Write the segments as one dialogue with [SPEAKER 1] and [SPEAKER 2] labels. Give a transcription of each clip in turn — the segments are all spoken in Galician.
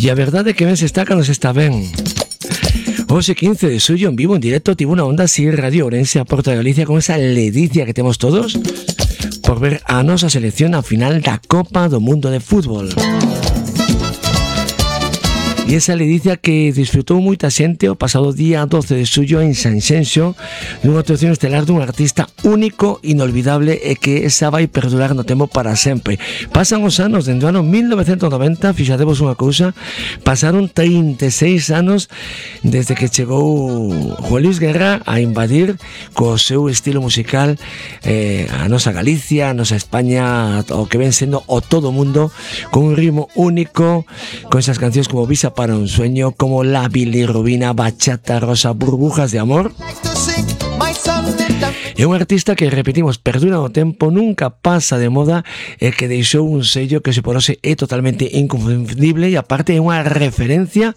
[SPEAKER 1] E a verdade é que ben se está cando se está ben. Hoxe 15 de xullo en vivo, en directo, tivo unha onda así Radio Ourense a Porta de Galicia con esa ledicia que temos todos por ver a nosa selección a final da Copa do Mundo de Fútbol. E esa ledicia que disfrutou moita xente o pasado día 12 de xullo en Sanxenxo nunha actuación estelar dun artista único, inolvidable e que esa vai perdurar no tempo para sempre. Pasan os anos, dende o ano 1990, fixadevos unha cousa, pasaron 36 anos desde que chegou Juan Luis Guerra a invadir co seu estilo musical a nosa Galicia, a nosa España, o que ven sendo o todo mundo, con un ritmo único, con esas cancións como Visa para un sueño, como La Bilirrubina, Bachata Rosa, Burbujas de Amor. É un artista que, repetimos, perdura no tempo, nunca pasa de moda e que deixou un sello que se por hoxe é totalmente inconfundible e aparte é unha referencia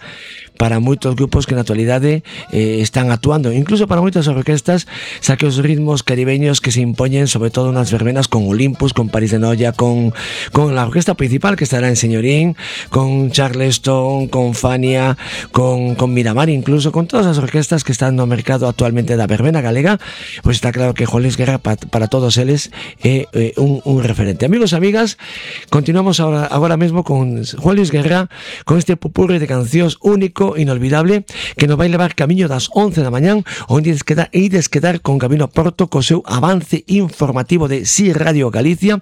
[SPEAKER 1] para moitos grupos que na actualidade están actuando, incluso para moitas orquestas, xa que os ritmos caribeños que se impoñen sobre todo nas verbenas con Olympus, con París de Noia, con la orquesta principal que estará en Señorín, con Charleston, con Fania, con Miramar, incluso con todas as orquestas que están no mercado actualmente da verbena galega, pois está claro que Juan Luis Guerra para todos eles é un referente. Amigos e amigas, continuamos agora mesmo con Juan Luis Guerra, con este pupurri de cancións único, inolvidable, que nos vai levar camiño das 11 da mañán, onde ides quedar con Camino a Porto co seu avance informativo de Si Radio Galicia,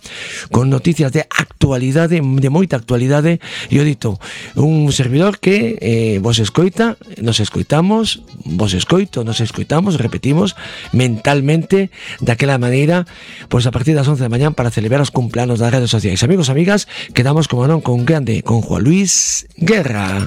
[SPEAKER 1] con noticias de actualidade, de moita actualidade, e o dito, un servidor que vos escoita, nos escoitamos, vos escoito, nos escoitamos, repetimos, mentalmente, daquela maneira, pois a partir das 11 da mañán para celebrar os cumpleanos das redes sociais. Amigos, amigas, quedamos como non con grande, con Juan Luis Guerra.